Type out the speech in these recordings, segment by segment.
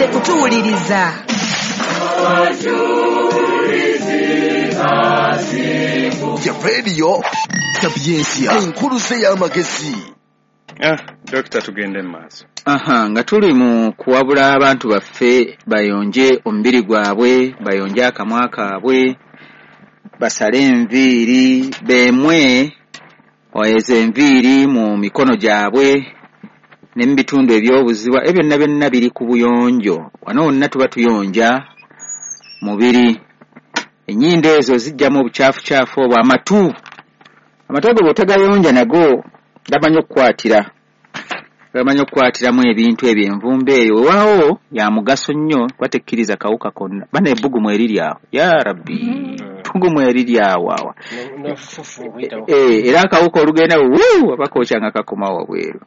Mwebale kutuwuliriza. Ya Radio Sapientia, enkuluze y'amagezi. Dokita, tugende mu maaso. Aha, nga tuli mu kuwabula abantu baffe bayonje omubiri gwabwe, bayonje akamwa kaabwe, basale enviiri, beemwe ezo enviiri mu mikono gyabwe ne mu bitundu eby'obuziba, ebyo byonna byonna biri ku buyonjo. Wano wonna tuba tuyonja mubiri. Ennyindo ezo zijjamu obukyafucyafu obwo. Amatu ago bw'otagayonja nago gamanyi okukwatiramu ebintu ebyo. Envumbo eyo weewaawo ya mugaso nnyo kuba tekkiriza kawuka konna. Bana ebbugumu eriri awo, ya Rabbi, ebbugumu eriri awo awa. Era akawuka olugenda wuu abakookya nga kakomawo wabweru.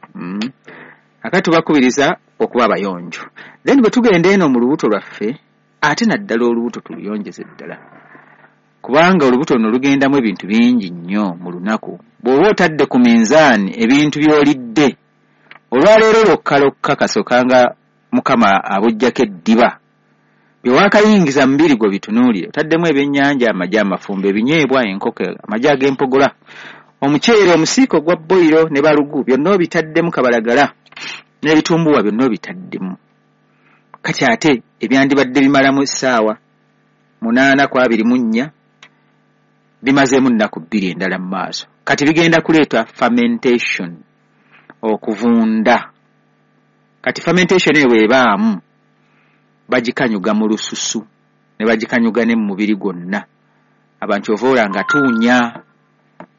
Akati tubakubiriza okuba abayonjo. Then bwe tugenda eno mu lubuto lwaffe, ate naddala olubuto tuluyonjeze ddala, kubanga olubuto luno lugendamu ebintu bingi nnyo mu lunaku. Bw'oba otadde ku minzaani ebintu by'olidde olwaleero lwokka lwokka, kasokanga Mukama abuggyako eddiba, bye waakayingiza mu mubiri gwo bitunuulire. Otaddemu ebyennyanja, amagi amafumbe, ebinyeebwa, enkoko, amagi ag'empogola, omuceere, omusiiko gwa boyiro ne balugu, byonna obitaddemu, kabalagala n'ebitumbuwa byonna obitaddemu. Kati ate ebyandibadde bimalamu essaawa 8 ku 24 bimazeemu nnaku 2 endala mu maaso. Kati bigenda kuleeta fermentation, okuvunda. Kati fermentation eyo bw'ebaamu, bagikanyuga mu lususu ne bagikanyuga ne mu mubiri gwonna. Abantu ova nga tuunya,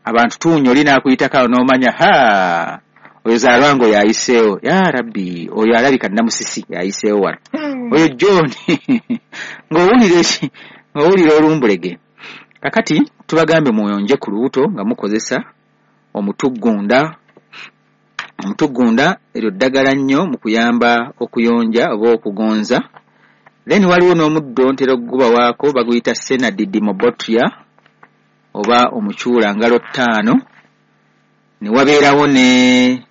abantu tuunya, oli n'akuyitako awo n'omanya, ha, oyo Zalwango yayiseewo, ya Rabbi, oyo alabika Namusisi yayiseewo wano, oyo John ng'owulira olumbulege. Kakati tubagambe muyonje ku lubuto nga mukozesa omutuggunda. Omutuggunda eryo ddagala nnyo mu kuyamba okuyonja oba okugonza. Then waliwo n'omuddo ntera okugubawaako, baguyita Senna didymobotria oba omucuula ngalo 5. Ne wabeerawo ne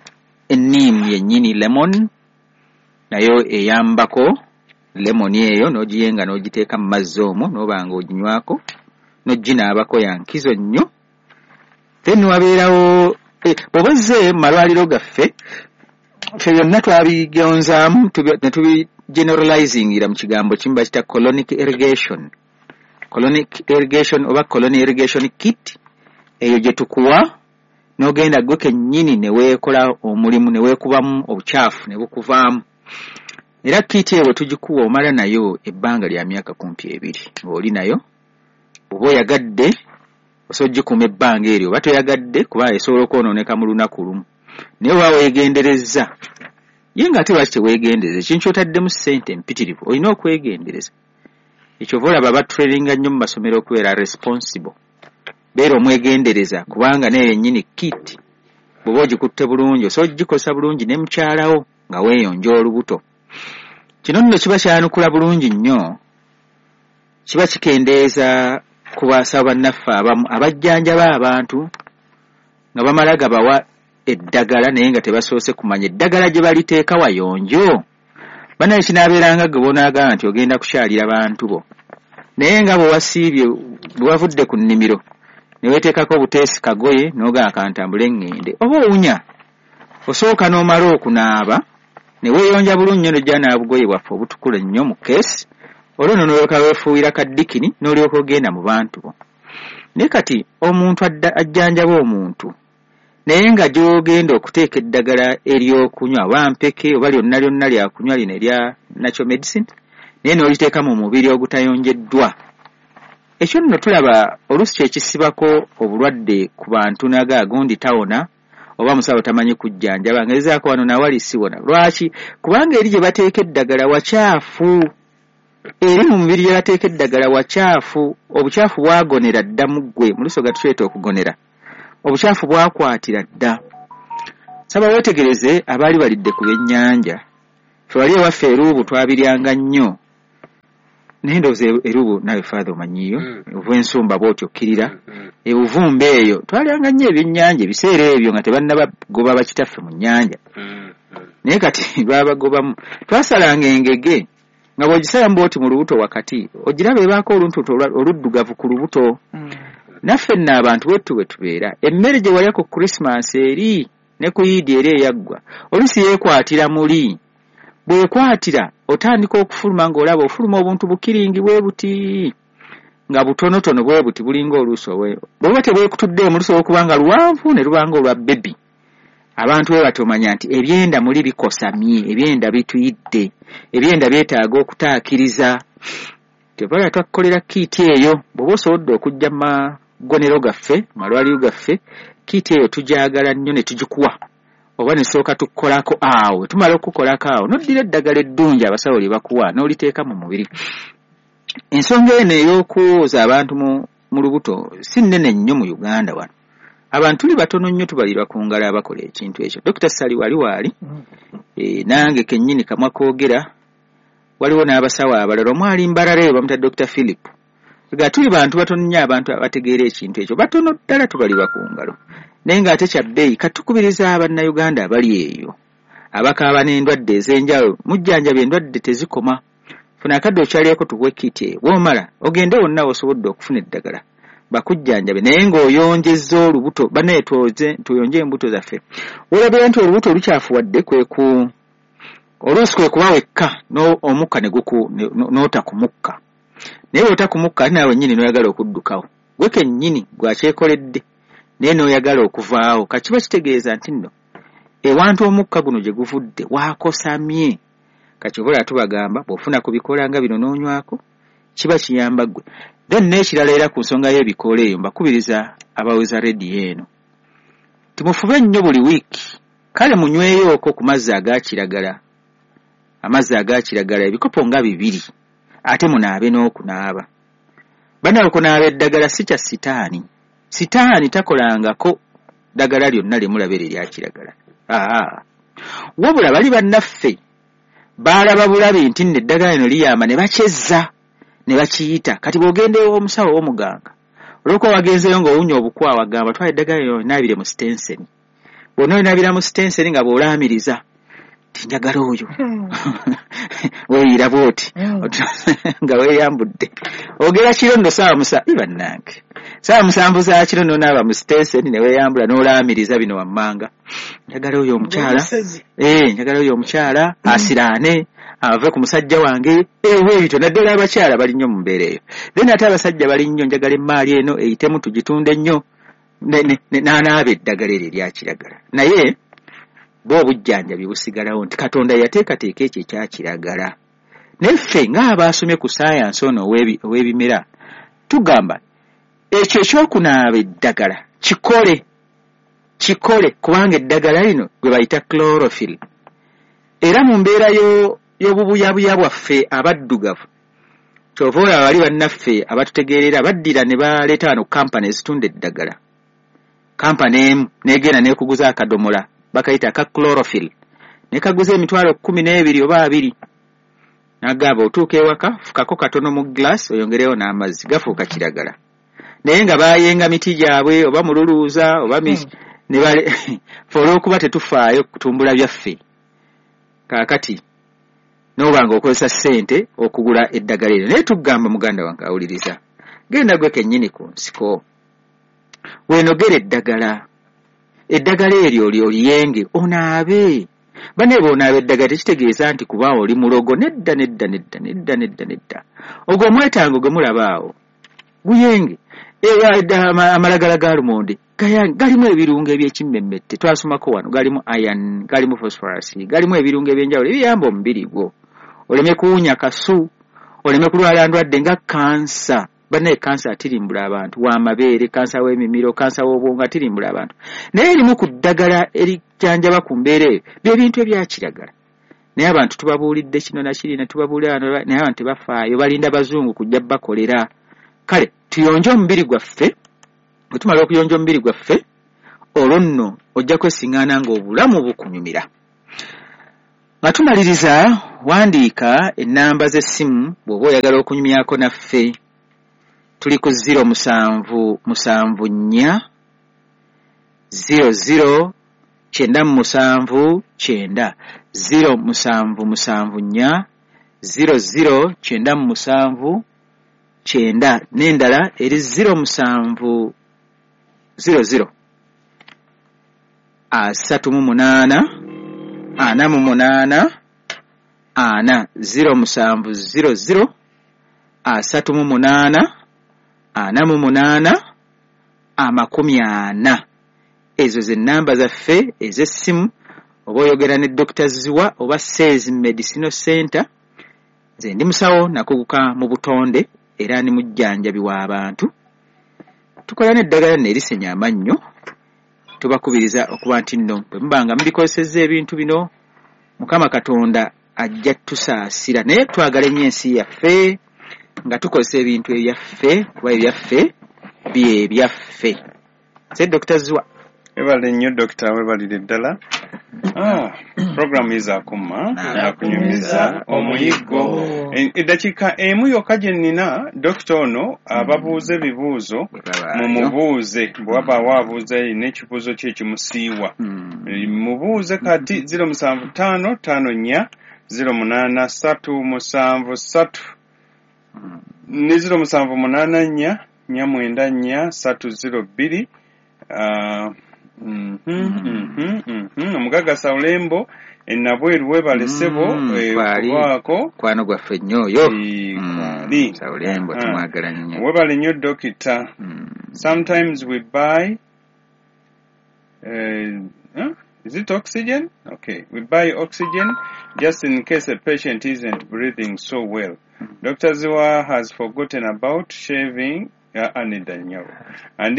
enniimu yennyini, lemon, nayo eyambako. Lemon eyo n'ogiyenga n'ogiteeka mu mazzi omwo n'oba nga oginywako n'oginaabako, ya nkizo nnyo. Then wabeerawo bw'oba ozze mu malwaliro gaffe, ffe byonna twabigonzaamu ne tubigeneralizingira mu kigambo kimu bakita colonic irrigation. Colonic irrigation oba colonic irrigation kit, eyo gye tukuwa n'ogenda gwe kennyini ne weekola omulimu ne weekubamu obukyafu ne bukuvaamu. Era kit eyo bwe tugikuwa omala nayo ebbanga lya myaka kumpi 2 ng'oli nayo. Bw'oba oyagadde osobola ogikuuma ebbanga eryo, oba toyagadde kuba esobola okwonooneka mu lunaku lumu. Naye oba weegenderezza, ye ng'ate lwaki teweegendereza? Ekintu ky'otaddemu ssente empitirivu olina okwegendereza. Ekyo ova olaba batraininga nnyo mu masomero okubeera responsible, beera omwegendereza, kubanga naye yennyini kit bw'oba ogikutte bulungi osobola ogikozesa bulungi ne mukyalawo nga weeyonja olubuto. Kino nno kiba kyanukula bulungi nnyo, kiba kikendeeza ku basawo bannaffe abamu abajjanjaba abantu nga bamala gabawa eddagala naye nga tebasoose kumanya eddagala gye baliteeka wayonjo. Banaye kinaabeeranga gwe bonaagamba nti ogenda kukyalira bantu bo, naye nga bwe wasiibye, bwe wavudde ku nnimiro ne weeteekako obuteesi kagoye n'ogamba kantambule ŋŋende, oba owunya. Osooka n'omala okunaaba ne weeyonja bulungi nnyo n'ojja n'obugoye bwaffe obutukula ennyo mu keesi, olwo nno n'olyoka weefuuyira kaddikini n'olyoka ogenda mu bantu bo. Naye kati omuntu ajjanjaba omuntu naye nga gy'ogenda okuteeka eddagala ery'okunywa oba mpeke oba lyonna lyonna lyakunywa lino erya natural medicine, naye n'oliteeka mu mubiri ogutayonjeddwa. Ekyo nno tulaba oluusi kyekisibako obulwadde ku bantu naga gundi tawona oba musawo tamanyi kujjanjaba, ngezaako wano nawali siwona. Lwaki? Kubanga eri gye bateeka eddagala wakyafu, eri mu mubiri gye bateeka eddagala wakyafu. Obukyafu bwagonera dda mu ggwe, mu lusoga tukyeta okugonera. Obukyafu bwakwatira dda. Saba weetegereze abaali balidde ku byennyanja. Ffe wali ewaffe eruubu twabiryanga nnyo, naye ndowooza eruubu nawe Father omanyiyo, ova ensumba bw'otyo okkirira, ebuvumba eyo twalyanga nnyo ebyennyanja ebiseera ebyo nga tebannabagoba bakitaffe mu nnyanja. Naye kati babagobamu. Twasalanga engege Nga bw'ogisalamu bw'oti mu lubuto wakati, ogiraba ebaako oluntuntu oluddugavu ku lubuto. Naffe nno abantu bwettu bwe tubeera. Emmere gye walya ku Christmas eri ne ku Eid eri eyaggwa, oluusi yeekwatira muli. Bw'ekwatira otandika okufuluma ng'olaba ofuluma obuntu bukiringi bwe buti, nga butonotono bwe buti bulinga oluusi bw'oba tebwekutuddeemu lusobola okuba nga luwanvu ne luba nga olwa bebi. Abantu bwe batyo omanya nti ebyenda muli bikosamye, ebyenda bituyidde, ebyenda byetaaga okutaakiriza. Kyova twakukolera kiiti eyo, bw'oba osobodde okujja mu magonero gaffe, mu malwaliro gaffe, kiiti eyo tugyagala nnyo ne tugikuwa. Oba ne tusooka tukukolako awo, tumala okukukolako awo, n'oddira eddagala eddungi abasawo lye bakuwa n'oliteeka mu mubiri. Ensonga eno ey'okwoza abantu mu lubuto si nnene nnyo mu Uganda wano. Abantu tuli batono nnyo, tubalirwa ku ngalo abakola ekintu ekyo. Dr. Ssali wali waali, nange kennyini kamwa koogera, waliwo n'abasawo abalala, omu ali Mbarara eyo bamuyita Dr. Philip. Nga tuli bantu batono nnyo abantu abategeera ekintu ekyo, batono ddala tubalirwa ku ngalo. Naye ng'ate kya bbeeyi, katukubiriza Abannayuganda abali eyo abakaaba n'endwadde ez'enjawulo, mujjanjaba endwadde tezikoma. Funa akadde okyalireko tukuwe kit eyo, bw'omala ogende wonna w'osobodde okufuna eddagala bakujjanjabe, naye ng'oyonjezza olubuto. Bannaye tuyonje embuto zaffe. Olabira nti olubuto lukyafuwadde kwe ku oluusi kwe kuba wekka omukka ne n'ota ku mukka. Naye bw'ota ku mukka ate naawe nnyini n'oyagala okuddukawo, gwe kennyini gwakyekoledde naye n'oyagala okuvaawo. Kakiba kitegeeza nti nno ewantu omukka guno gye guvudde waakosamye. Kati oba tubagamba bw'ofuna ku bikoola nga bino n'onywako kiba kiyamba ggwe. Then n'ekirala era ku nsonga y'ebikoola eyo, mbakubiriza abaweza rediyo eno timufube nnyo buli wiiki, kale munyweyooko ku mazzi aga kiragala, amazzi aga kiragala ebikopo nga 2, ate munaabe n'okunaaba. Bannaye okunaaba eddagala si kya sitaani. Sitaani takolangako ddagala lyonna lye mulaba eryo erya kiragala. Wabula bali bannaffe baalaba bulabi nti nno eddagala lino liyamba ne bakyezza ne bakiyita. Kati bw'ogenda ew'omusawo ow'omuganga, olw'okuba wagenzeeyo ng'owunya obukwawa, agamba twala eddagala lino onaabire mu sitenseni. Bw'ona onaabira mu sitenseni nga bw'olaamiriza nti njagala oyo, weeyiira bw'oti nga weeyambudde, ogera kiro nno ssaawa bannange 7:00 za kiro n'onaaba mu sitenseni ne weeyambula n'olaamiriza bino wammanga, njagala oyo omukyala, njagala oyo omukyala asiraane ave ku musajja wange, ebyo naddala abakyala bali nnyo mu mbeera eyo. Then ate abasajja bali nnyo, njagala emmaali eno eyitemu tugitunde nnyo, n'anaaba eddagala eryo erya kiragala. Naye bo obujjanjabi busigalawo nti Katonda yateekateeka ekyo ekya kiragala. Naye ffe ng'abaasomye ku saayansi ono ow'ebimera tugamba ekyo ekyokunaaba eddagala kikole, kikole, kubanga eddagala lino gwe bayita chlorophyll. Era mu mbeera y'obubuyabuya bwaffe abaddugavu, kyova olaba bali bannaffe abatutegeerera baddira ne baleeta wano kampani ezitunda eddagala. Kampani emu n'egenda n'ekuguza akadomola bakayita aka chlorophyll, ne kaguza 12,000 oba 20. N'agamba otuuka ewaka fukako katono mu glass oyongereyo n'amazzi, gafuuka kiragala. Naye nga baayenga miti gyabwe oba mululuuza oba ne bale fe olw'okuba tetufaayo kutumbula byaffe. Kaakati n'oba ng'okozesa ssente okugula eddagala eryo. Naye tugamba muganda wange awuliriza, genda gwe kennyini ku nsiko weenogere eddagala, eddagala eryo oliyenge onaabe. Bannaye bw'onaaba eddagala tekitegeeza nti kuba oli mulogo, nedda nedda nedda nedda nedda nedda. Ogwo omwetango gwe mulaba awo guyenge. Amalagala ga lumonde galimu ebirungo eby'ekimmemmette, twasomako wano, galimu iron, galimu phosphorus, galimu ebirungo eby'enjawulo ebiyamba omubiri gwo oleme kuwunya kasu, oleme kulwala ndwadde nga kansa. Bannaye kansa atirimbula abantu, w'amabeere, kansa w'emimiro, kansa w'obwongo atirimbula abantu. Naye erimu ku ddagala erijjanjaba ku mbeera eyo bye bintu ebya kiragala. Naye abantu tubabuulidde kino na kiri ne tubabuulira wano, naye abantu tebafaayo, balinda bazungu kujja bakolera. Kale tuyonje omubiri gwaffe. Bwe tumala okuyonja omubiri gwaffe, olwo nno ojja kwesiŋŋaana ng'obulamu bukunyumira. Nga tumaliriza, wandiika ennamba z'essimu bw'oba oyagala okunyumyako naffe. Tuli ku 07 74 00 97 9, 07 74 00 97 9, n'endala eri 07 00 38 48 4, 07 00 38 48 40. Ezo ze namba zaffe ez'essimu, oba oyogera ne Dr. Ziwa oba Says Medicinal Center. Nze ndi musawo nakuguka mu butonde era ndi mujjanjabi w'abantu. Tukola n'eddagala nerisenya amannyo. Tubakubiriza okuba nti nno bwe mubanga mubikozesezza ebintu bino, Mukama Katonda ajja tusaasira. Naye twagala ennyo ensi yaffe nga tukozesa ebintu ebyaffe, kuba ebyaffe bye byaffe. Nze Dr. Ziwa. Webale nnyo Dokita, webalire ddala. Programu izakuma nakunyumiza omuyiggo. Eddakiika emu yokka gye nnina, Dokita ono ababuuza ebibuuzo, mumubuuze bwe wabaawo abuuza erina ekibuuzo kye ekimusiiwa, mubuuze kati 075 54 08 373 ne 0784 494 302. Omugagga Saulembo enabweru webale ssebo okubaako kwano gwaffe nnyo oyo Saulembo tumwagala nnyo. Webale nnyo Dokita. Sometimes we buy is it oxygen? Okay, we buy oxygen just in case a patient isn't breathing so well. Dr. Ziwa has forgotten about shaving and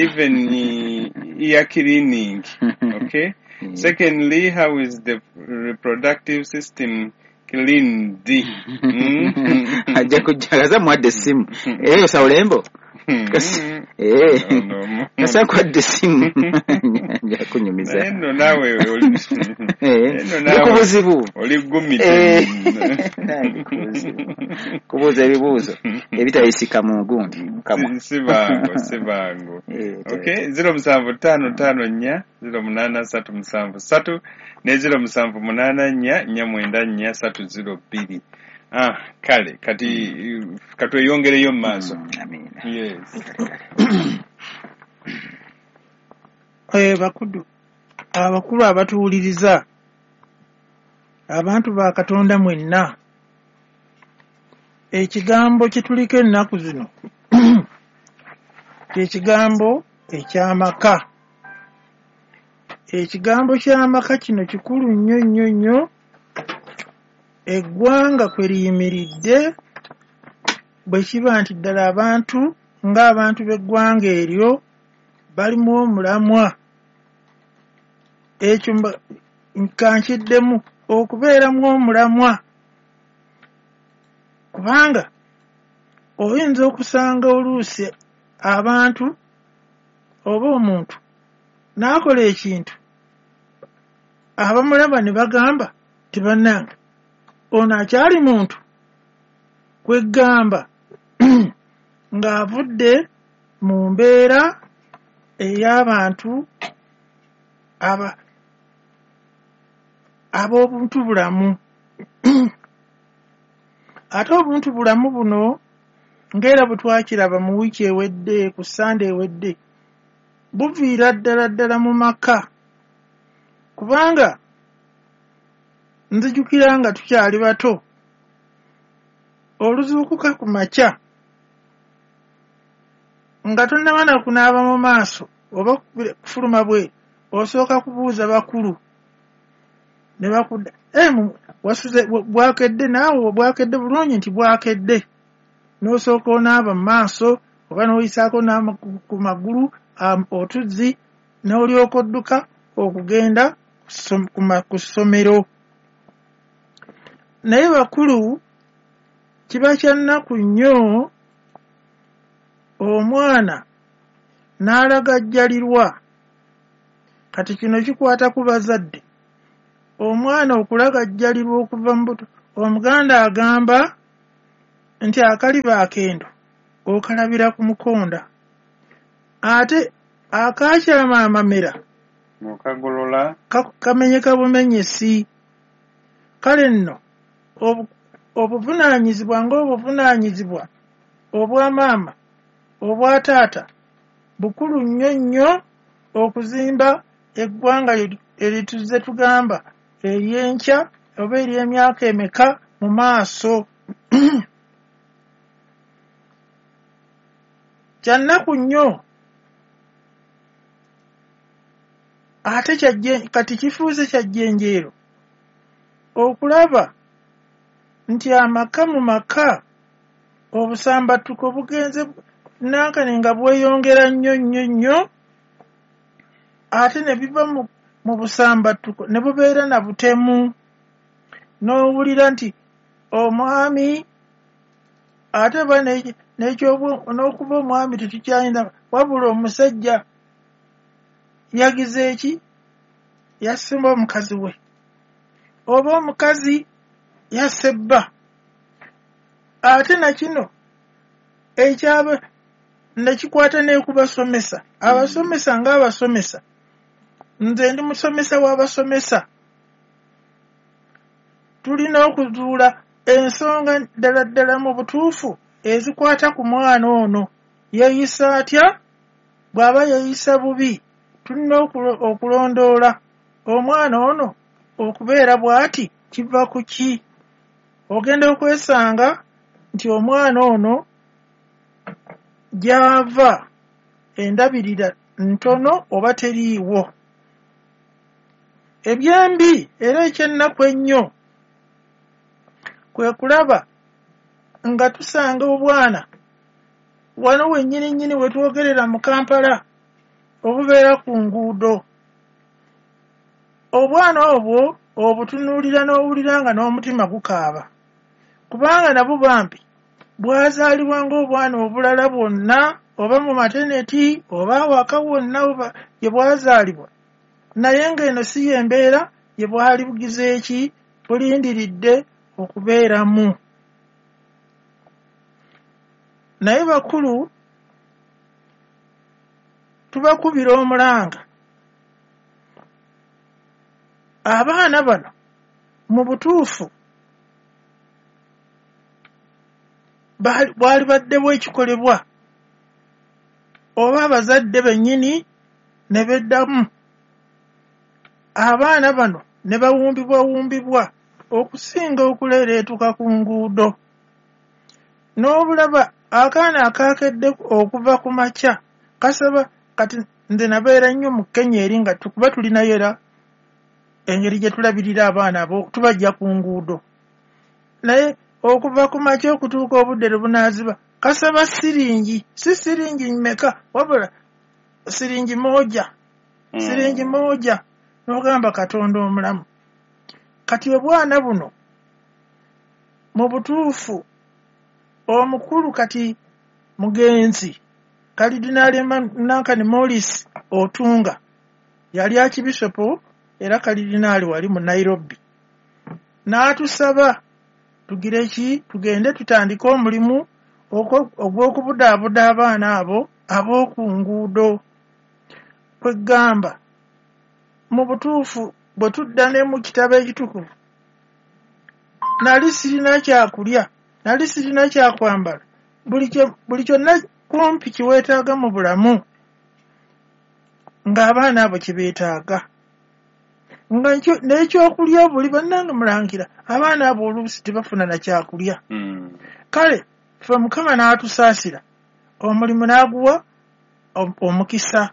even ear cleaning. Okay. Secondly, how is the reproductive system cleaned? Ajja kujjagaza mwadde essimu eyo Saulembo. Kasa kwadde essimu nja kunyumiza. Nno naawe ndi ku buzibu. Oli gumite. Kubuuza ebibuuzo ebitayisika mu gundi mukamwa. Si bangu. Okay, 075 54 08 373 ne 0784 494 302. Kale kati katweyongereyo mu maaso. Amiina. Yes. Bakudu abakulu abatuwuliriza, abantu ba Katonda mwenna, ekigambo kye tuliko ennaku zino kye kigambo eky'amaka. Ekigambo ky'amaka kino kikulu nnyo nnyo nnyo. Eggwanga kwe liyimiridde bwe kiba nti ddala abantu ng'abantu b'eggwanga eryo balimu omulamwa. Ekyo nkankiddemu okubeeramu omulamwa, kubanga oyinza okusanga oluusi abantu oba omuntu n'akola ekintu abamulaba ne bagamba tebannange ono akyali muntu, kwegamba ng'avudde mu mbeera ey'abantu ab'obuntu bulamu. Ate obuntu bulamu buno ng'era bwe twakiraba mu wiiki ewedde, ku Ssande ewedde, buviira ddala ddala mu maka. Kubanga nzijukira nga tukyali bato, oluzuukuka ku makya nga tonnaba na kunaaba mu maaso oba kufuluma bwe, osooka kubuuza bakulu ne bakudda, wasuze bwakedde naawe, bwakedde bulungi nti bwakedde, n'osooka onaaba mu maaso oba n'oyisaako ku magulu otuzzi n'olyoka odduka okugenda ku ssomero. Naye bakulu kiba kya nnaku nnyo omwana n'alagajjalirwa. Kati kino kikwata ku bazadde. Omwana okulagajjalirwa okuva mu buto, Omuganda agamba nti akaliba akendo okalabira ku mukonda, ate akakyama amamera okagolola kamenyeka bumenyesi. Kale nno Obuvunaanyizibwa ng'obuvunaanyizibwa obwa maama, obwa taata, bukulu nnyo nnyo okuzimba eggwanga erituze tugamba ery'enkya oba ery'emyaka emeka mu maaso. Kyannaku nnyo ate kati kifuuse kya jjenjeero okulaba nti amaka mu maka obusambattuko bugenze nankane nga bweyongera nnyo nnyo nnyo, ate ne biva mu busambattuko ne bubeera na butemu. N'owulira nti omwami ate ba n'okuba omwami tetukyayinza, wabula omusajja yagize eki, yasimba omukazi we, oba omukazi yasse bba. Ate nakino ekyaba nekikwata n'ekubasomesa, abasomesa ng'abasomesa, nze ndi musomesa w'abasomesa, tulina okuzuula ensonga ddala ddala mu butuufu ezikwata ku mwana ono. Yeeyisa atya? Bw'aba yeeyisa bubi, tulina okulondoola omwana ono okubeera bw'ati kiva ku ki. Ogenda okwesanga nti omwana ono gy'ava endabirira ntono oba teriiwo. Ebyembi era ekyennaku ennyo kwe kulaba nga tusanga obwana wano wennyini nnyini we twogerera mu Kampala obubeera ku nguudo. Obwana obwo obutunuulira n'owulira nga n'omutima gukaaba, kubanga nabwo bambi bwazaalibwa ng'obwana obulala bwonna, oba mu mateneti oba awaka wonna oba gye bwazaalibwa, naye ng'eno si y'embeera gye bwali bugize eki bulindiridde okubeeramu. Naye bakulu tubakubira omulanga, abaana bano mu butuufu bwali baddewo ekikolebwa, oba abazadde bennyini ne beddamu abaana bano ne bawumbibwawumbibwa okusinga okuleereetuka ku nguudo. N'obulaba akaana akaakedde okuva ku makya kasaba. Kati nze nabeera nnyo mu Kenya eri nga tukuba tulinayo era engeri gye tulabirira abaana abo, tubajja ku nguudo, naye okuva ku makya okutuuka obudde lwe bunaaziba kasaba siringi, si siringi mmeka, wabula siringi moja, siringi moja, n'ogamba Katonda omulamu. Kati obwana buno mu butuufu omukulu kati mugenzi Kalidinaali Nankani Morris Otunga yali Archbishop era Kalidinaali wali mu Nairobi, n'atusaba tugire ki, tugende tutandike omulimu ogw'okubudaabuda abaana abo ab'oku nguudo. Kwegamba mu butuufu bwe tudda ne mu kitabo ekitukuvu, nali sirina kyakulya, nali sirina kyakwambala, buli kyonna kumpi kiweetaaga mu bulamu ng'abaana abo kye beetaaga, nga n'ekyokulya buli bannange mulangira abaana abo oluusi tebafuna na kyakulya. Kale ffe Mukama n'atusaasira omulimu n'aguwa omukisa,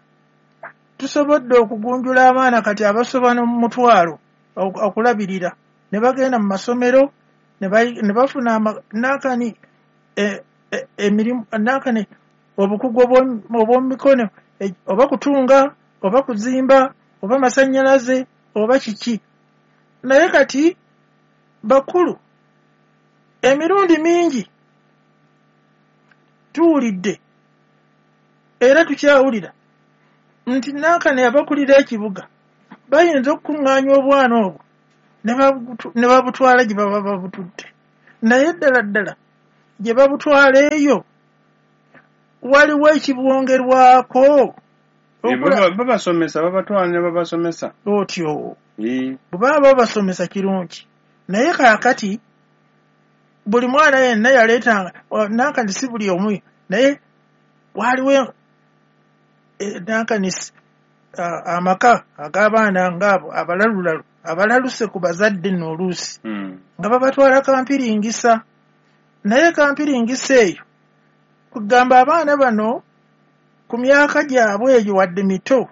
tusobodde okugunjula abaana kati abasoba mu mutwalo okulabirira, ne bagenda mu masomero ne bafuna nankani emirimu, nankani obukugu obw'omumikono, oba kutunga oba kuzimba oba masannyalaze oba kiki. Naye kati bakulu emirundi mingi tuwulidde era tukyawulira nti nankani abakulira ekibuga bayinza okukuŋŋaanya obwana obwo ne babutwala gye baba babututte, naye ddala ddala gye babutwala eyo waliwo ekibwongerwako. Babasomesa, babatwala ne babasomesa otyo bwe baba babasomesa kirungi, naye kaakati Buli mwana yenna yaleetanga nankani, si buli omu, naye waliwo nankani amaka ag'abaana ngaabo abalalulalu abalaluse ku bazadde nno oluusi nga babatwala kampiringisa. Naye kampiringisa eyo kugamba abaana bano ku myaka gyabwe eyo wadde mito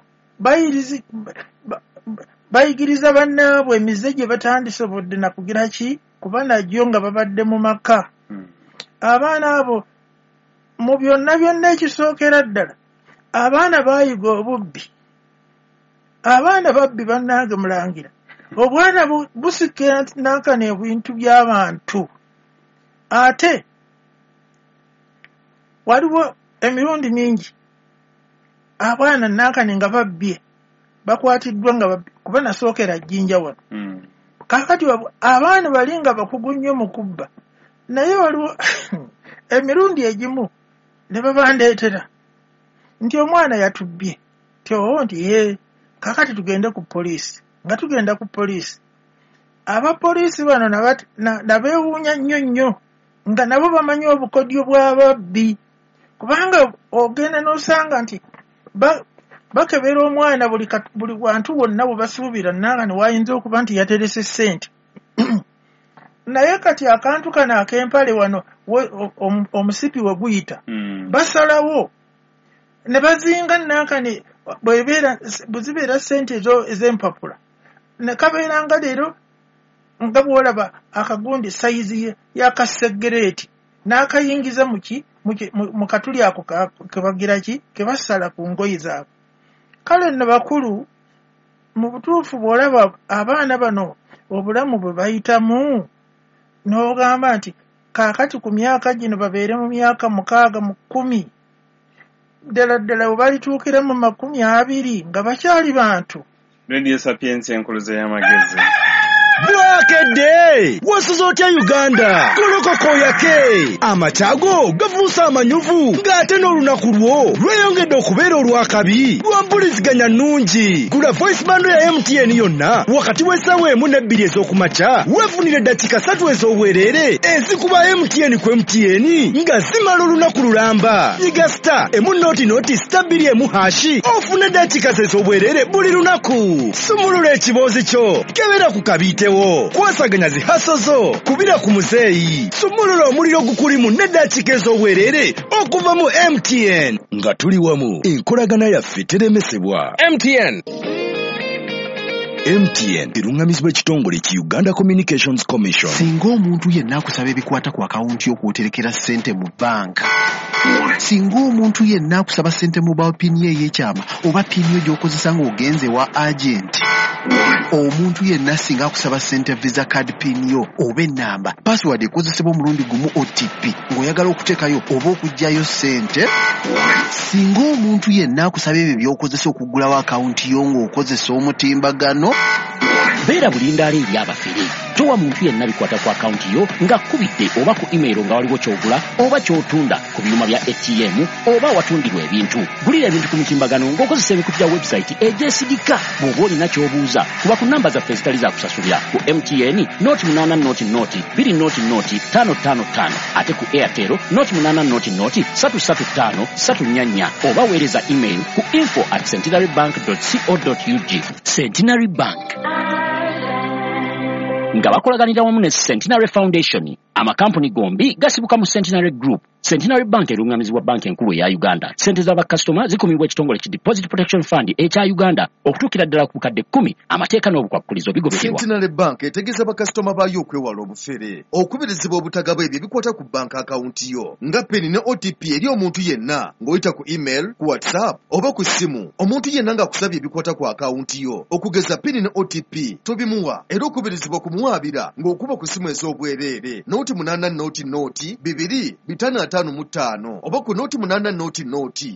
bayigiriza bannaabwe emize gye batandisobodde na kugira ki kuba nagyo nga babadde mu maka. Abaana abo mu byonna byonna ekisookera ddala abaana baayiga obubbi. Abaana babbi bannange mulangira. Obwana busika nankana ebintu by'abantu. Ate waliwo emirundi mingi abaana nankane nga babbye bakwatiddwa nga babbi, kuba nasookera Jjinja wano. Kaakati abaana bali nga bakugu nnyo mu kubba, naye waliwo emirundi egimu ne babandeetera nti omwana yatubbye, nti oo nti ye kaakati tugende ku poliisi. Nga tugenda ku poliisi, abapoliisi bano nabeewuunya nnyo nnyo nga nabo bamanyi obukodyo bw'ababbi, kubanga ogenda n'osanga nti bakebera omwana buli wantu wonna bwe basuubira nanga ne wayinza okuba nti yaterese ssente. Naye kati akantu kano ak'empale wano omusipi we guyita, basalawo ne bazinga nankani bwe zibeera ssente ez'empapula ne kabeera nga leero nga bw'olaba akagundi sayizi y'akaseggereeti n'akayingiza mu katuli ako kebagira ki ke basala ku ngoye zaabwe. Kale nno bakulu, mu butuufu bw'olaba abaana bano obulamu bwe bayitamu n'ogamba nti kaakati ku myaka gino babeere mu myaka 6 mu 10, ddala ddala bwe balituukira mu 20 nga bakyali bantu. Radio Sapientia enkuluze y'amagezi. Bwakedde wasuze otya Uganda? Golokoka oyake amakyago gafuuse amanyuvu ng'ate n'olunaku lwo lweyongedde okubeera olw'akabi lwa mpuliziganya nnungi. Gula voice bando ya MTN yonna wakati w'essaawa 1 ne 2 ez'okumakya weefunire eddakiika 3 ez'obwereere ezikuba MTN ku MTN nga zimala olunaku lulamba. Yiga star 1 0 star 2 hashi ofune eddakiika ez'obwereere buli lunaku. Sumulula ekiboozi kyo, kebera ku kabiitewo, kwasaganya zihaso zo, kubira ku muzeeyi, sumulula omuliro gukulimu n'eddakiika ez'obwereere okuva mu MTN. Nga tuli wamu, enkolagana yaffe teremesebwa. MTN. MTN erungamizibwa ekitongole ki Uganda Communications Commission. Singa omuntu yenna akusaba ebikwata ku akawunti y'okwoterekera ssente mu banka, singa omuntu yenna akusaba ssente mobile pin ye ey'ekyama oba pin yo gy'okozesa ng'ogenze wa agent, omuntu yenna singa akusaba ssente visa card pin yo oba ennamba, password ekozesebwa omulundi gumu OTP ng'oyagala okuteekayo oba okuggyayo ssente, singa omuntu yenna akusaba ebyo by'okozesa okuggulawo akawunti yo ng'okozesa omutimbagano, beera bulindaala eri abafere. Towa muntu yenna bikwata ku akawunti yo ng'akkubidde oba ku email nga waliwo ky'ogula oba ky'otunda ku byuma bya ATM oba awatundirwa ebintu. Gulira ebintu ku mutimbagano ng'okozesa emikutu gya website egyesigika. Bw'oba olina ky'obuuza, kuba ku namba zaffe ezitali za kusasulira ku MTN 0800 200 555, ate ku Airtel 0800 335 344, oba weereza email ku info@centenarybank.co.ug. Centenary Bank nga bakolaganira wamu ne Centenary Foundation. Amakampuni gombi gasibuka mu Centenary Group. Centenary Bank erungamizibwa banka enkulu eya Uganda. Ssente z'abakasitoma zikumibwa ekitongole ki Deposit Protection Fund ekya Uganda okutuukira ddala ku bukadde 10. Amateeka n'obukwakulizo bigobererwa. Centenary Bank etegeeza bakasitoma baayo okwewala obufere, okubirizibwa obutagaba ebyo ebikwata ku banka akawunti yo nga PIN ne OTP eri omuntu yenna ng'oyita ku email, ku WhatsApp oba ku ssimu. Omuntu yenna ng'akusabye ebikwata ku akawunti yo okugeza PIN ne OTP tobimuwa, era okubirizibwa kumuwaabira ng'okuba ku ssimu ez'obwereere 08 0 2 555 oba ku 08 0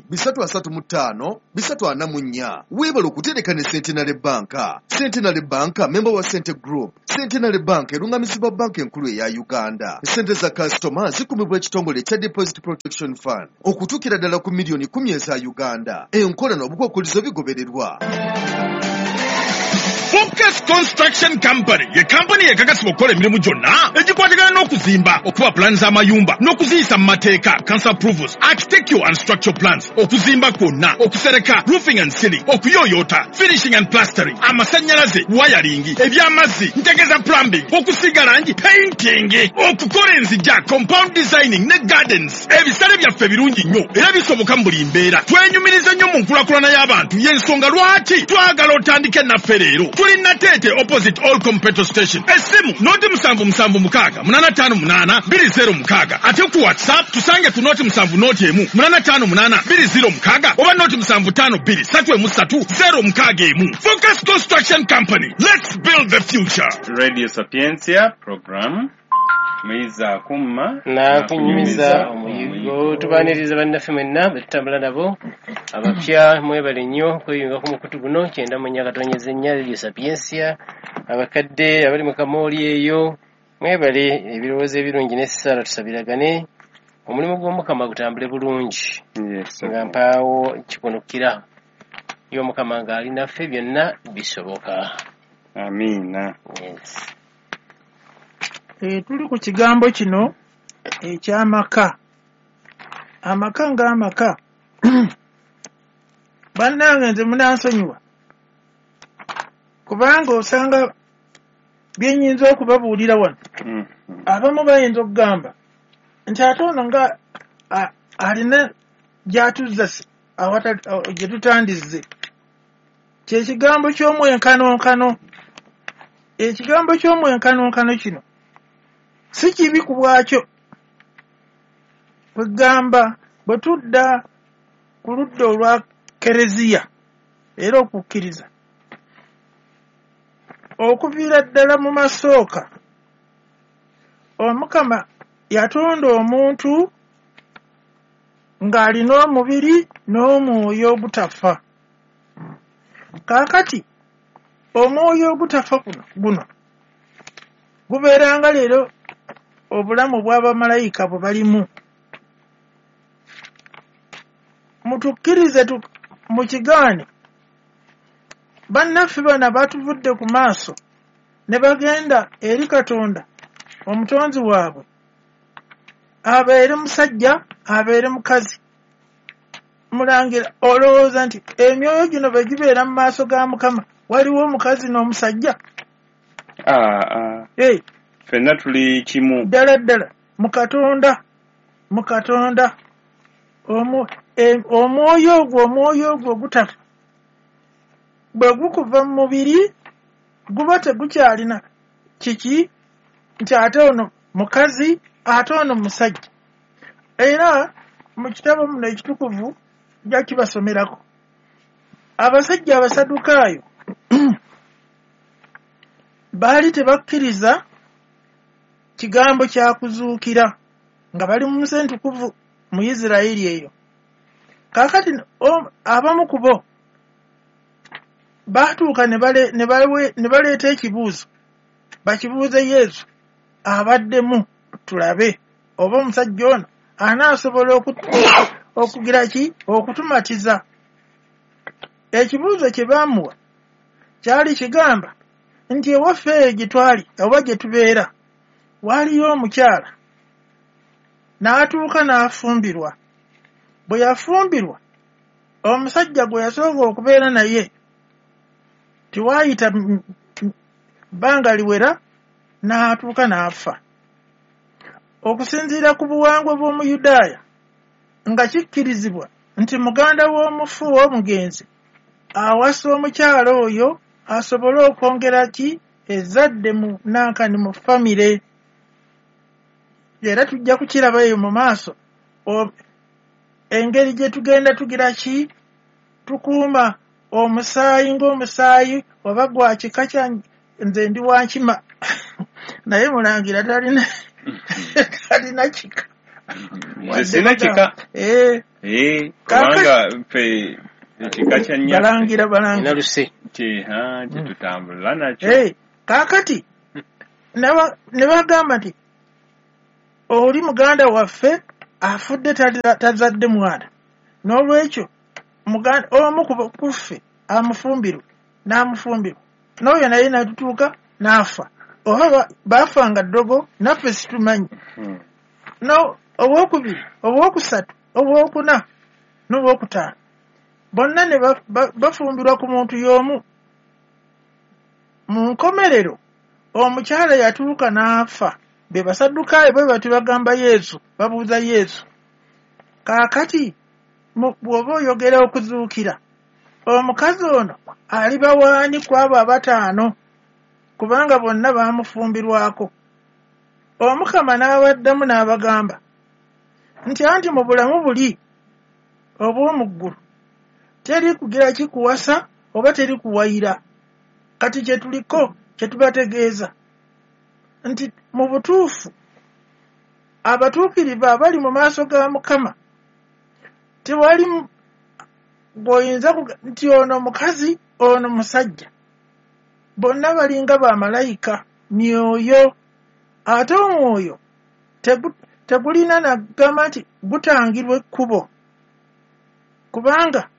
335 344. Weebale okutereka ne Centenary Bank. Centenary Bank member wa Cente Group. Centenary Bank erungamizibwa banka enkulu eya Uganda. Ssente za kasitoma zikumibwa ekitongole ekya Deposit Protection Fund okutuukira ddala ku miliyoni 10 eza Uganda. Enkola n'obukwakulizo bigobererwa. Focus Construction Company ye kampani ekakasibwa okukola emirimu gyonna egikwatagana n'okuzimba, okuba pulaani z'amayumba n'okuziyisa mu mateeka, council approvals, architectural and structural plans, okuzimba kwonna, okusereka, roofing and ceiling, okuyooyoota, finishing and plastering, amasannyalaze, wiring, eby'amazzi, ntegeza plumbing, okusiiga langi, painting, okukola enzija, compound designing ne gardens. Ebisale byaffe birungi nnyo era bisoboka mu buli mbeera. Twenyumiriza nnyo mu nkulaakulana y'abantu, y'ensonga lwaki twagala otandike naffe leero. Tuli Nateete opposite All Petrol Station. Essimu 077 658 206, ate ku WhatsApp tusange ku 070 1 858 206 oba 075 2 3 061. Focus Construction Company, let's build the future. Radio Sapientia program Muyizi Akumma Nakunyumiza Omuyiggo. Tubaniriza bannaffe mwenna bwe tutambula nabo abapya, mwebale nnyo kweyunga ku mukutu guno 94.4 Radio Sapientia. Abakadde abali mu kamooli eyo mwebale ebirowoozo ebirungi n'essaala, tusabiragane omulimu gw'Omukama gutambule bulungi nga mpaawo kikunukira. Ye Omukama ng'ali naffe byonna bisoboka. Amiina. Yes. Tuli ku kigambo kino eky'amaka. Amaka ng'amaka, bannange nze munansonyiwa kubanga osanga bye nnyinza okubabuulira wano, abamu bayinza okugamba nti ate ono nga alina gy'atuzza gye tutandizze. Kyekigambo ky'omwenkanonkano. Ekigambo ky'omwenkanonkano kino si kibi ku bwakyo. Kwegamba bwe tudda ku ludda olwa kereziya era okukkiriza, okuviira ddala mu masooka Omukama yatonda omuntu ng'alina omubiri n'omwoyo ogutafa. Kaakati omwoyo ogutafa guno gubeeranga leero obulamu bw'abamalayika bwe balimu. Mutukkirize mukigaane, bannaffe bano batuvudde ku maaso ne bagenda eri Katonda omutonzi waabwe, abeere musajja abeere mukazi. Mulangira, olowooza nti emyoyo gino bwe gibeera mu maaso ga Mukama waliwo omukazi n'omusajja? Ffenna tuli kimu. Ddala ddala mu Katonda, mu Katonda omwoyo ogwo ogutafa bwe gukuva mu mubiri guba tegukyalina kiki nti ate ono mukazi ate ono musajja. Era mu kitabo muno ekitukuvu nja kibasomerako. Abasajja Abasadukaayo baali tebakkiriza kigambo kya kuzuukira nga bali mu nsi entukuvu mu Isirayiri eyo. Kaakati abamu ku bo baatuuka ne baleeta ekibuuzo, bakibuuze Yesu abaddemu tulabe oba omusajja ono anaasobola okugira ki okutumatiza. Ekibuuzo kye baamuwa kyali kigamba nti ewaffe eyo gye twali oba gye tubeera waliyo omukyala n'atuuka n'afumbirwa. Bwe yafumbirwa omusajja gwe yasooka okubeera naye tiwaayita bbanga liwera n'atuuka n'afa. Okusinziira ku buwangwa bw'Omuyudaaya nga kikkirizibwa nti muganda w'omufu w'omugenzi awasa omukyala oyo asobole okwongera ki ezzadde mu nankani mu famire. Era tujja kukiraba eyo mu maaso engeri gye tugenda tugira ki tukuuma omusaayi ng'omusaayi oba gwa kika kya nze ndi wa nkima naye mulangira talina kika. Nze sina kika. Kubanga ffe ekika kya nnyaffe balangira kye tutambula nakyo. Kaakati ne bagamba nti oli muganda waffe afudde tazadde mwana, n'olwekyo omu ku ffe amufumbirwe n'amufumbirwa. N'oyo naye n'atutuuka n'afa. Oba baafanga ddogo naffe situmanyi. No owokubiri, owokusatu, owokuna n'owokutaano bonna ne bafumbirwa ku muntu y'omu. Mu nkomerero omukyala yatuuka n'afa. Be Basaddukaayo bwe batyo bagamba Yesu, babuuza Yesu, kaakati bw'oba oyogera okuzuukira, omukazi ono aliba waani ku abo abataano, kubanga bonna baamufumbirwako? Omukama n'abaddamu n'abagamba nti anti mu bulamu buli obw'omu ggulu teri kugira kikuwasa oba teri kuwayira. Kati kye tuliko kye tubategeeza nti mu butuufu abatuukirivu abali mu maaso ga Mukama tewali bw'oyinza nti ono mukazi ono musajja, bonna balinga bamalayika, myoyo. Ate omwoyo tegulina nagamba nti gutangirwa ekkubo, kubanga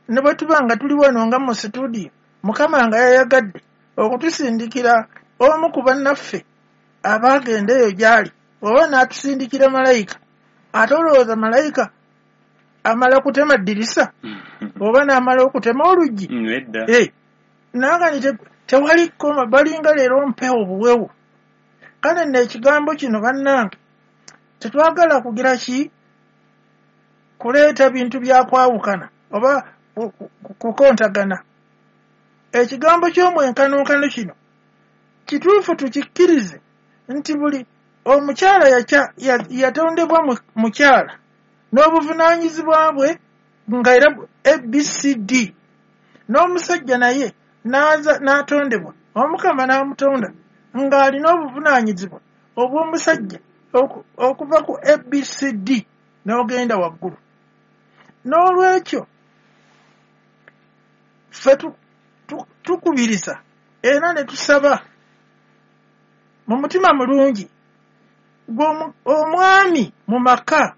ne bwe tuba nga tuli wano nga mu situdiyo, Mukama nga yayagadde okutusindikira omu ku bannaffe abaagenda eyo gy'ali, oba n'atusindikira malayika. Ate olowooza malayika amala kutema ddirisa oba n'amala okutema oluggi? Naagani tewali kkoma, balinga leero mpewo buwewo. Kale nno ekigambo kino bannange tetwagala kugira ki kuleeta bintu bya kwawukana oba kukontagana. Ekigambo ky'omwenkanonkano kino kituufu tukikkirize nti buli omukyala yatondebwa mukyala n'obuvunaanyizibwa bwe nga era ABCD, n'omusajja naye n'atondebwa Omukama n'amutonda ng'alina obuvunaanyizibwa obw'omusajja okuva ku ABCD n'ogenda waggulu. N'olwekyo ffe tukubiriza era ne tusaba mu mutima mulungi omwami mu maka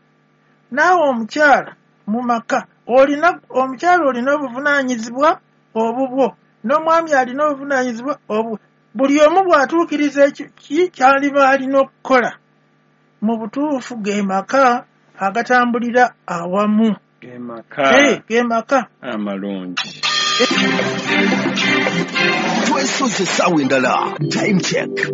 naawe omukyala mu maka, olina omukyala olina obuvunaanyizibwa obubwo n'omwami alina obuvunaanyizibwa obwo. Buli omu bw'atuukiriza eki kyaliba alina okukola mu butuufu ge maka agatambulira awamu, ge maka amalungi. Twesoze essaawa endala, time check.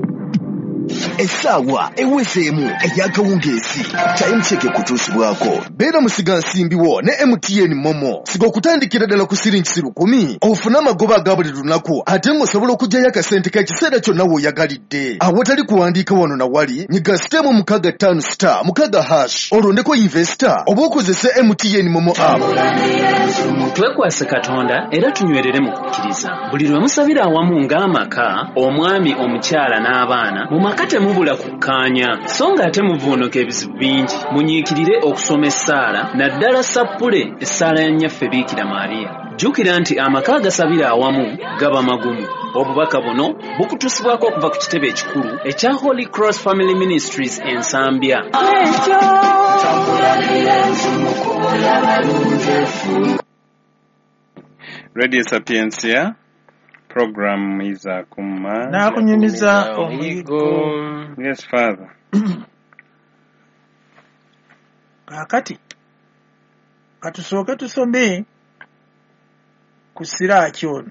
Essaawa ewezeemu ey'akawungeezi. Time check ekutuusibwako beera musigansimbi wo ne MTN Momo. Siga okutandikira ddala ku siringi 1,000 ofune amagoba aga buli lunaku, ate ng'osobola okuggyayo akasente k'ekiseera kyonna w'oyagalidde awatali kuwandiika wano na wali. Nyiga *656*6# olondeko investor oba okozese MTN Momo app. Twekwase Katonda era tunywerere mu kukkiriza. Buli lwe musabira awamu ng'amaka, omwami, omukyala n'abaana, mu maka temubula kukkaanya, so ng'ate muvuunuka ebizibu bingi. Munyiikirire okusoma essaala, naddala sappule essaala ya Nnyaffe Biikira Maria. Jjukira nti amaka agasabira awamu gaba magumu. Obubaka buno bukutuusibwako okuva ku kitebe ekikulu ekya Holy Cross Family Ministries e Nsambya. Radio Sapientia program iza kuma nakunyumiza omuyigo. Yes, Father. Kaakati katusooke tusome ku Siraaki ono.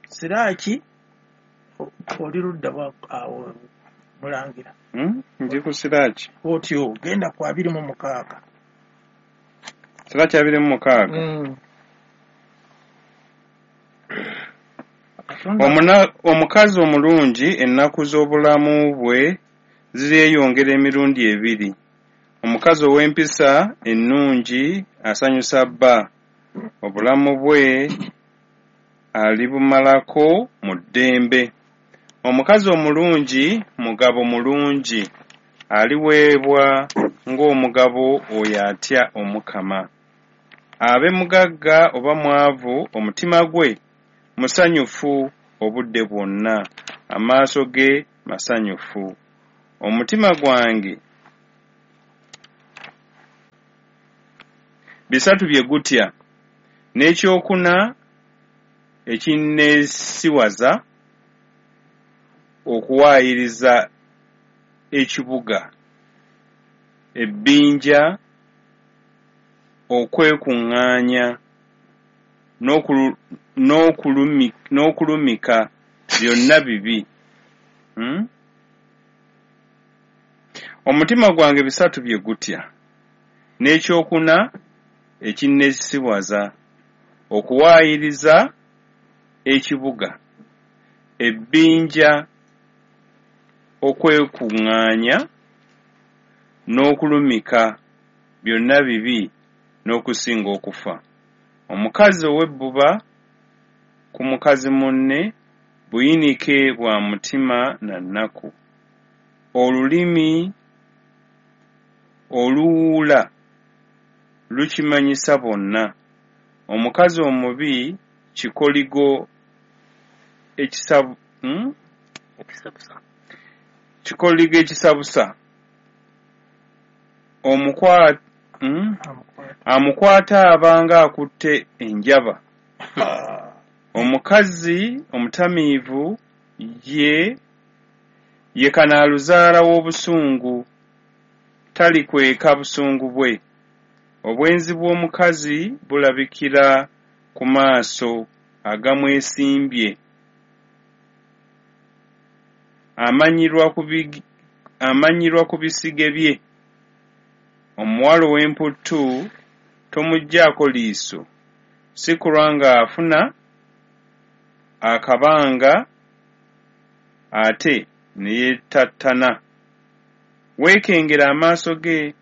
Siraaki oli ludda awo mulangira? Ndi ku Siraaki. Otyo genda ku 26. Siraaki 26. Omukazi omulungi ennaku z'obulamu bwe ziryeyongera emirundi ebiri. Omukazi ow'empisa ennungi asanyusa bba, obulamu bwe alibumalako mu ddembe. Omukazi omulungi mugabo mulungi, aliweebwa ng'omugabo oyo atya Omukama. Abe mugagga oba mwavu, omutima gwe musanyufu obudde bwonna, amaaso ge masanyufu. Omutima gwange bisatu bye gutya, n'ekyokuna ekinneesiwaza okuwaayiriza ekibuga, ebbinja okwekuŋŋaanya n'okulumika byonna bibi. Omutima gwange bisatu bye gutya, n'ekyokuna ekinneesiwaza, okuwaayiriza ekibuga, ebbinja okwekuŋŋaanya n'okulumika byonna bibi n'okusinga okufa. Omukazi ow'ebbuba ku mukazi munne buyinike bwa mutima na nnaku. Olulimi oluwuula lukimanyisa bonna. Omukazi omubi kikoligo ekisabusa. Amukwata aba ng'akutte enjaba. Omukazi omutamiivu ye kanaaluzaala w'obusungu, talikweka busungu bwe. Obwenzi bw'omukazi bulabikira ku maaso agamwesimbye. Amanyirwa ku bisige bye. Omuwala ow'emputtu tomuggyaako liiso, si kulwa ng'afuna akabanga ate ne yeetattana. Weekengere amaaso ge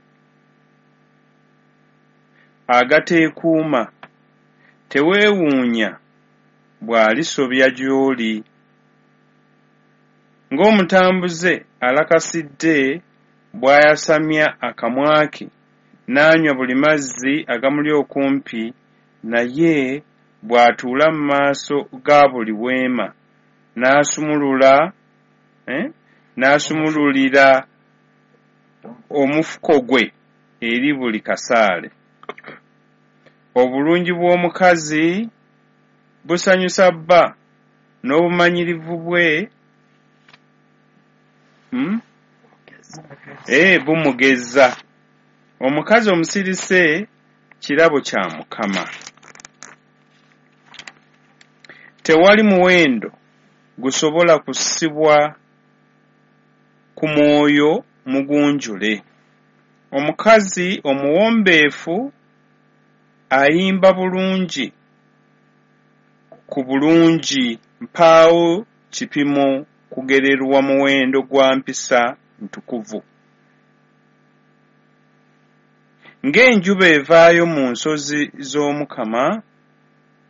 agateekuuma, teweewuunya bw'alisobya gy'oli. Ng'omutambuze alakasidde bw'ayasamya akamwa ke n'anywa buli mazzi agamuli okumpi, naye bw'atuula mu maaso ga buli weema n'asumululira omufuko gwe eri buli kasaale. Obulungi bw'omukazi busanyusa bba, n'obumanyirivu bwe bumugeza. Omukazi omusirise kirabo kya Mukama. Tewali muwendo gusobola kussibwa ku mwoyo mugunjule. Omukazi omuwombeefu ayimba bulungi ku bulungi, mpaawo kipimo kugererwa muwendo gwa mpisa ntukuvu. Ng'enjuba evaayo mu nsozi z'Omukama,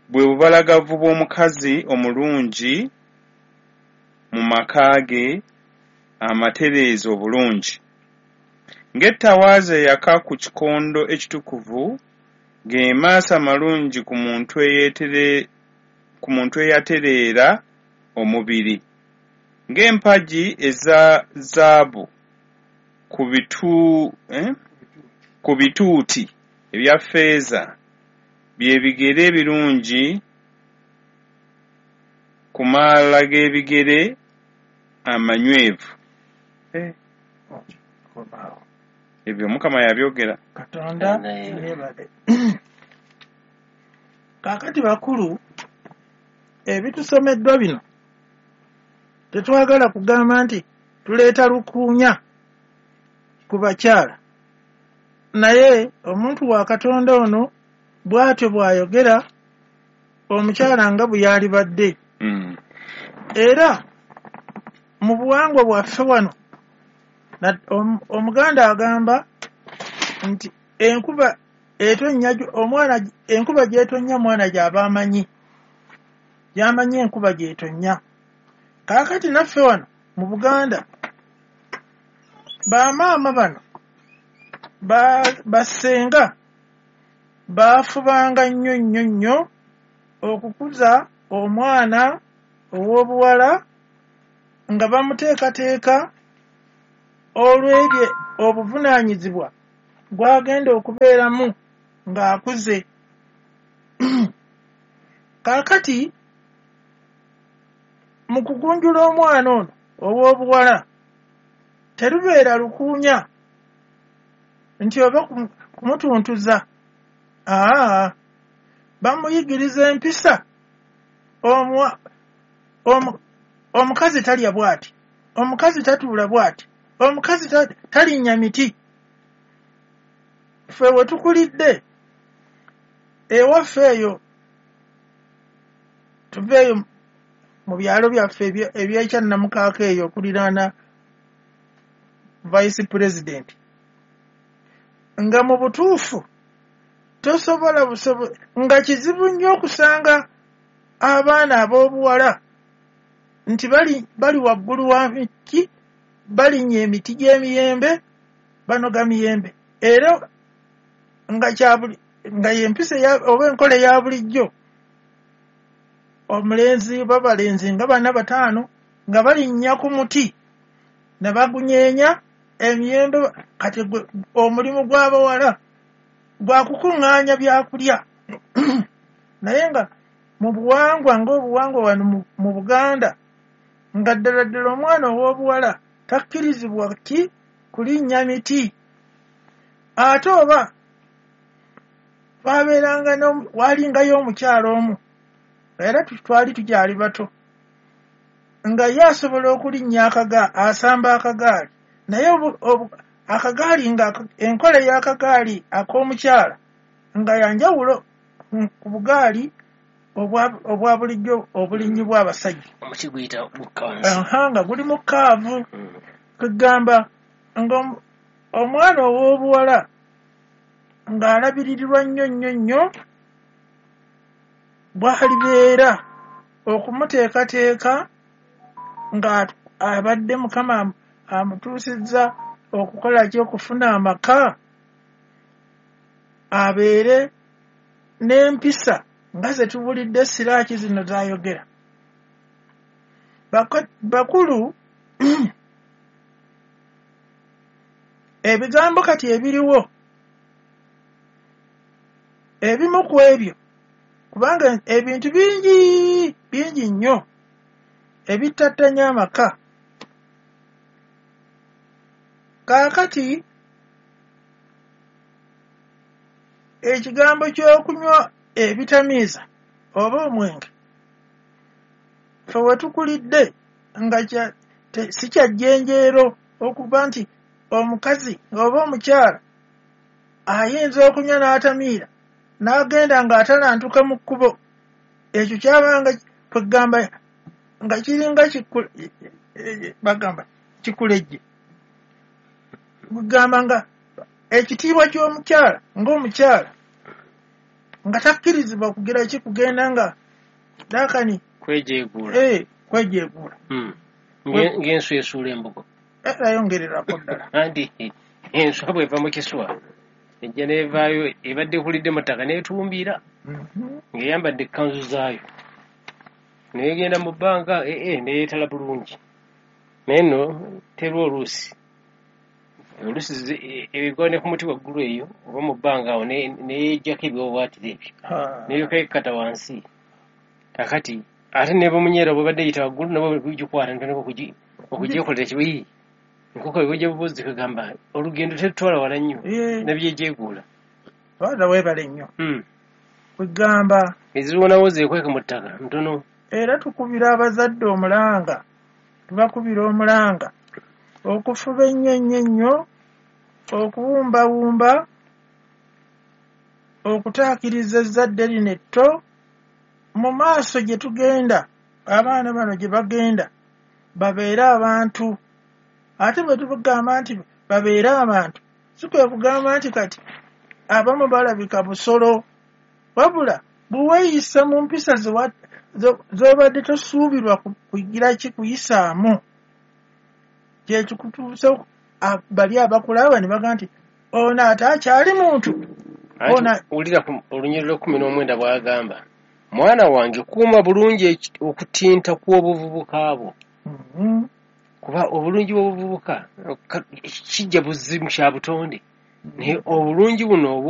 bwe bubalagavu bw'omukazi omulungi mu maka ge amatereeze obulungi. Ng'ettawaaza eyaka ku kikondo ekitukuvu, ge maaso amalungi ku muntu eyatereera omubiri. Ng'empagi eza zaabu ku bituuti ebya ffeeza, bye bigere ebirungi ku maala g'ebigere amanywevu. Ebyo Mukama yabyogera. Katonda yeebale. Kaakati bakulu, ebitusomeddwa bino tetwagala kugamba nti tuleeta lukuunya ku bakyala, naye omuntu wa Katonda ono bw'atyo bw'ayogera omukyala nga bwe yalibadde. Era mu buwangwa bwaffe wano Omuganda agamba nti enkuba etonnya omwana, enkuba gy'etonnya mwana gy'aba amanyi, gy'amanyi enkuba gy'etonnya. Kaakati naffe wano mu Buganda bamaama bano bassenga baafubanga nnyo nnyo nnyo okukuza omwana ow'obuwala nga bamuteekateeka olw'ebyo obuvunaanyizibwa gw'agenda okubeeramu ng'akuze. Kaakati Mu kugunjula omwana ono ow'obuwala terubeera lukuunya nti oba kumutuntuza, aa bamuyigiriza empisa. Omukazi talya bw'ati, omukazi tatuula bw'ati, omukazi talinnya miti. Ffe we tukulidde ewaffe eyo, tuveeyo mu byalo byaffe ebyekyannamukaaka eyo okuliraana vice president, nga mu butuufu tosobola nga kizibu nnyo okusanga abaana ab'obuwala nti bali waggulu wa miti, balinnya emiti gy'emiyembe, banoga miyembe, era nga y'empisa oba enkola eya bulijjo. Omulenzi babalenzi nga 4 5 nga balinnya ku muti ne bagunyeenya emiyembe. Kati omulimu gw'abawala gwa kukuŋŋaanya byakulya. Naye nga mu buwangwa ng'obuwangwa wano mu Buganda, nga ddala ddala omwana ow'obuwala takkirizibwa ki kulinnya miti. Ate oba twabeeranga walingayo omukyala omu, era twali tukyali bato, nga ye asobola okulinnya asamba akagaali, naye akagaali nga enkola y'akagaali ak'omukyala nga yanjawulo ku bugaali obwa bulijjo obulinnyibwa abasajja. Omuti guyita gukka wansi. Nga guli mu kaavu. Kugamba nga omwana ow'obuwala ng'alabiririrwa nnyo nnyo nnyo bw'alibeera okumuteekateeka nga abadde Mukama amutuusizza okukola ki, okufuna amaka, abeere n'empisa nga ze tubulidde siraaki zino z'ayogera. Bakulu ebigambo kati ebiriwo ebimu ku ebyo, kubanga ebintu bingi bingi nnyo ebittattanya amaka. Kaakati ekigambo ky'okunywa ebitamiiza oba omwenge, ffe we tukulidde nga si kya jjenjeero okuba nti omukazi oba omukyala ayinza okunywa n'atamiira n'agenda ng'atalantuka mu kkubo. Ekyo kyabanga kwegamba nga kiringa bagamba kikulejje, kugamba nga ekitiibwa ky'omukyala ng'omukyala nga takkirizibwa kugira ki kugenda nga dakani kwejeeguula. Kwejeeguula ng'enswa esuula embugo. Ayongererako ddala. Anti enswa bw'eva mu kiswa ejja n'evaayo ebadde ekulidde mu ttaka n'etumbiira ng'eyambadde ekkanzu zaayo, n'egenda mu bbanga neyeetala bulungi. Naye nno terwa oluusi ebigwa ne ku muti waggulu eyo oba mu bbanga awo neyejjako ebiwaawaatiro ebyo neryoka ekkata wansi. Kakati ate ne bumunyeera bwebadde eyita waggulu nabwo bugikwata netandika okugyekolera kibi. Enkoko ebujja bubuzi kugamba olugendo tetutwala wala nnyo nebyejeeguula. Baada weebale nnyo kugamba eziwonawo zeekweka mu ttaka ntono. Era tukubira abazadde omulanga, tubakubira omulanga okufuba ennyo ennyo ennyo okuwumbawumba okutaakiriza ezzadde lino etto mu maaso gye tugenda, abaana bano gye bagenda babeere abantu. Ate bwe tugamba nti babeere abantu, si kwe kugamba nti kati abamu balabika busolo, wabula bwe weeyisa mu mpisa z'obadde tosuubirwa kugira ki kuyisaamu, kye kikutuusa bali abakulaba ne bagamba nti ono ate akyali muntu. Wulira olunyiriri lwa 19 bw'agamba, mwana wange kuuma bulungi okutinta kw'obuvubuka bwo. Kuba obulungi bw'obuvubuka kijja buzibu kya butonde, naye obulungi buno